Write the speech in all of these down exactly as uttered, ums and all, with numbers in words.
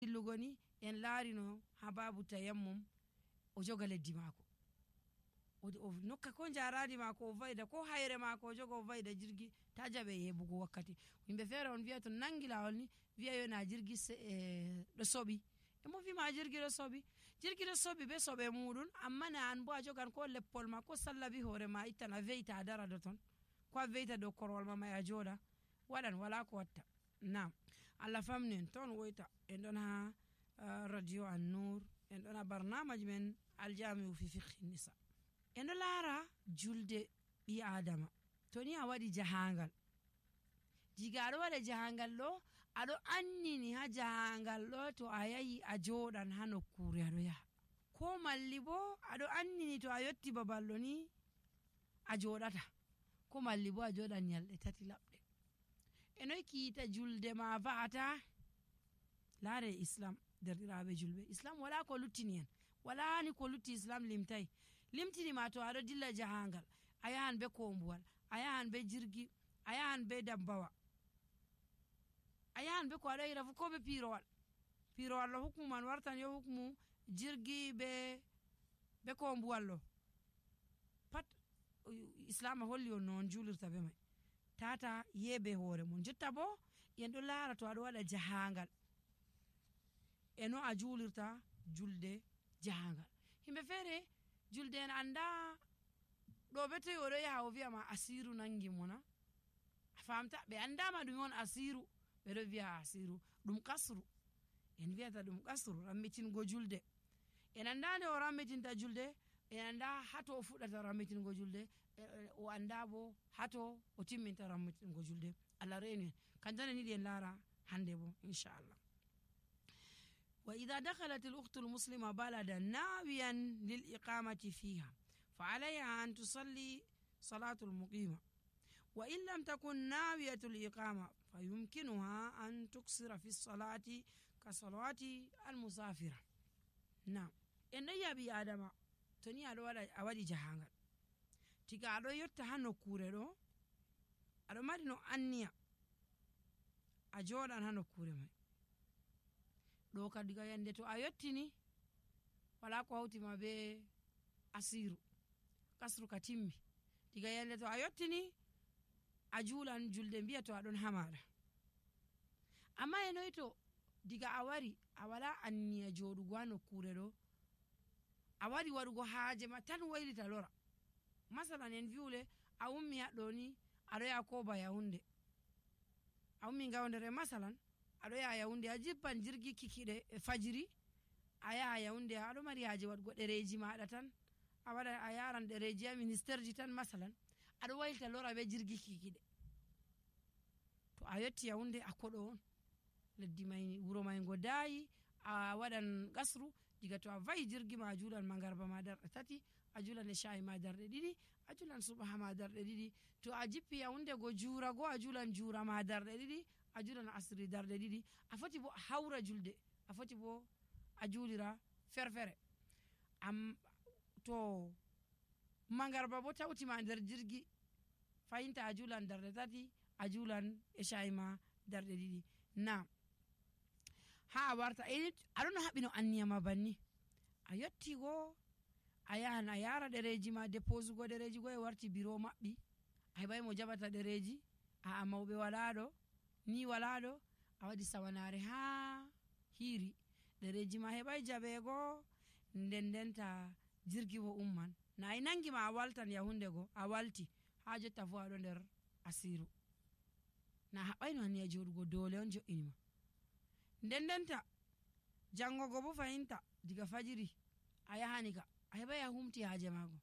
Dillugo ni, en laarino haa baabu tayammum, o joga leddi maako. O, o nokka ko njaaraandi maako, o vayda ko hayre maako, o joga o vayda jirgi, ta jaɓe heɓugo wakkati. Yimɓe feere on viya to nangi laawol ni, viya yo na jirgi se-, eh, ɗo soɓi. E mo fi ma jirgi ɗo soɓi. Jirgi ɗo soɓi be soɓe muuɗum, amma na an bo a jogan ko leppol ma, ko sallabi hoore ma, ittan a veyta a dara ɗo ton. Ko a veyta dow korwal ma may a jooɗa. Waɗan, wala ko watta. Naam. Allah famni en, ton woyta. En ɗon haa, ah, Radio An-Nur. En ɗon haa barnaamaj men Aljamiu fi Fiqhi Nisa. En ɗo laara julde ɓii Aadama. To ni a waɗi jahaangal. Diga aɗo waɗa jahaangal ɗo, aɗo annini haa jahaangal ɗo to a yahi a jooɗan haa nokkuure aɗo yaha. Ko malli bo aɗo annini to a yotti babal ɗo ni a jooɗata. Ko malli bo a jooɗan nyalɗe tati laɓɗe. E noy kiita julde ma va'ata? Laare Islam, derɗiraaɓe julɓe. Islam wala ko luttini en. Wala ni ko lutti Islam limtay. Limtini ma to aɗo dilla jahaangal. A yahan be koombuwal. A yahan be jirgi. A yahan be dabbawa. A yahan be ko aɗo yira fu ko be piirowal. Piirowal ɗo hukmu man wartan yo hukmu jirgi be, be koombuwal ɗo. Pat, u-, Islaama holli on no on juulirta be may. Tata yeebe hoore mon. Jotta bo, en ɗo laara to aɗo waɗa jahaangal. E no a juulirta julde jahaangal. Yimɓe feere, julde en annda ɗo be toy o ɗo yaha o vi'a ma asiiru nangi mo na. A faamta, ɓe annda ma ɗum on asiiru. Ɓe ɗo vi'a asiiru. Ɗum kasru. En vi'ata ɗum kasru, rammitingo julde. En annda nde o rammitinta julde, en annda haa to o fuɗɗata rammitingo julde, e, e, o annda bo haa to o timminta rammitingo julde. Allah reenu en. Kanjum en yiɗi en laara hannde bo, inchallah. وإذا دخلت الأخت المسلمة بلدا ناويا للإقامة فيها، فعليها أن تصلي صلاة المقيمة، وإن لم تكن ناوية الإقامة، فيمكنها أن تقصر في الصلاة كصلاة المسافرة. Naam. En ɗon yi'a ɓii Aadama, to ni aɗo waɗa, a waɗi jahaangal. Diga aɗo yotta haa nokkuure ɗo, aɗo mari no anniya, a jooɗan haa nokkuure may. Ɗo ka diga yande to a yottini, wala ko hawti ma be asiiru. Kasru ka timmi. Diga yande to a yottini, a juulan julde mbi'a to a ɗon haa maaɗa. Amma e noy to diga a wari, a wala anniya jooɗugo haa nokkuure ɗo, a wari waɗugo haaje ma tan waylita lora. Masalan, en vi'u le, a ummi haa ɗo ni, aɗo yaha Koba Yahunde. A ummi Ngaoundéré, masalan, aɗo yaha Yahunde, a jippan jirgi kikiɗe e fajiri, a yaha Yahunde, aɗo mari haaje waɗugo ɗereeji maaɗa tan, a waɗa, a yaran ɗereeji haa ministerji tan, masalan, aɗo waylita lora be jirgi kikiɗe. To a yotti Yahunde, a koɗo on. Leddi may, wuro may ngo daayi, a waɗan qasru, diga to a va'i jirgi ma, a juulan mangarba ma darɗe tati, a juulan ecaa'i ma darɗe ɗiɗi, a juulan subaha ma darɗe ɗiɗi. To a jippi Yahunde go juura go, a juulan juura ma darɗe ɗiɗi, a juulan asri darɗe ɗiɗi. A foti bo a hawra julde, a foti bo a juulira ferfere. Am, to mangarba bo tawti ma nder jirgi, fahinta a juulan darɗe tati, a juulan ecaa'i ma darɗe ɗiɗi. Naam. Haa a warta, e, aɗo no haɓɓi no anniya ma banni. A yotti go, a yahan a yaara ɗereeji ma, depoosugo ɗereeji go e warti biro maɓɓi. A heɓay mo jaɓata ɗereeji, a, a mawɓe walaa ɗo, ni walaa ɗo, a waɗi sawanaare haa hiiri. Ɗereeji ma heɓay jaɓeego, nden ndenta jirgi wo umman. Na e nangi ma a waltan Yahunde go, a walti, haa jotta fuu aɗo nder asiiru. Na haɓɓayno anniya jooɗugo, doole on jo'ini ma. Nden ndenta, janngo go bo fahinta, diga fajiri, a yahani ka, a heɓay a humti haaje maago.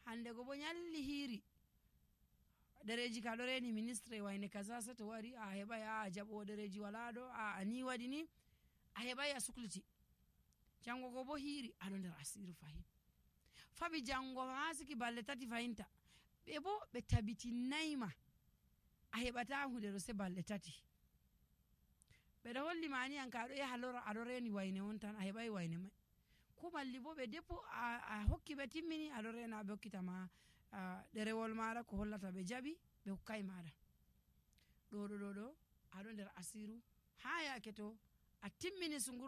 Hande go bo nyalli hiiri, ɗereeji ka ɗo reeni ministre wayne kaza, se to wari, a heɓay, a jaɓoowo ɗereeji walaa ɗo, a, a ni waɗi ni, a heɓay a sukliti. Janngo go bo hiiri, aɗo nder asiiru fahin. Faɓi janngo haa siki balɗe tati fahinta. Ɓe bo ɓe tabitinnay ma. A heɓataa huunde ɗo se balɗe tati. Ɓe ɗo holli ma ni an ka aɗo yaha lora, aɗo reeni wayne on tan, a heɓay wayne may. Ko malli bo ɓe deppo, a, a hokki ɓe timmini, aɗo reena ɓe hokkita ma, a, ɗerewol maaɗa ko hollata ɓe jaɓi, ɓe hokkay maaɗa. Ɗo ɗo ɗo ɗo, aɗo nder asiiru, haa yaake to a timmini so nguru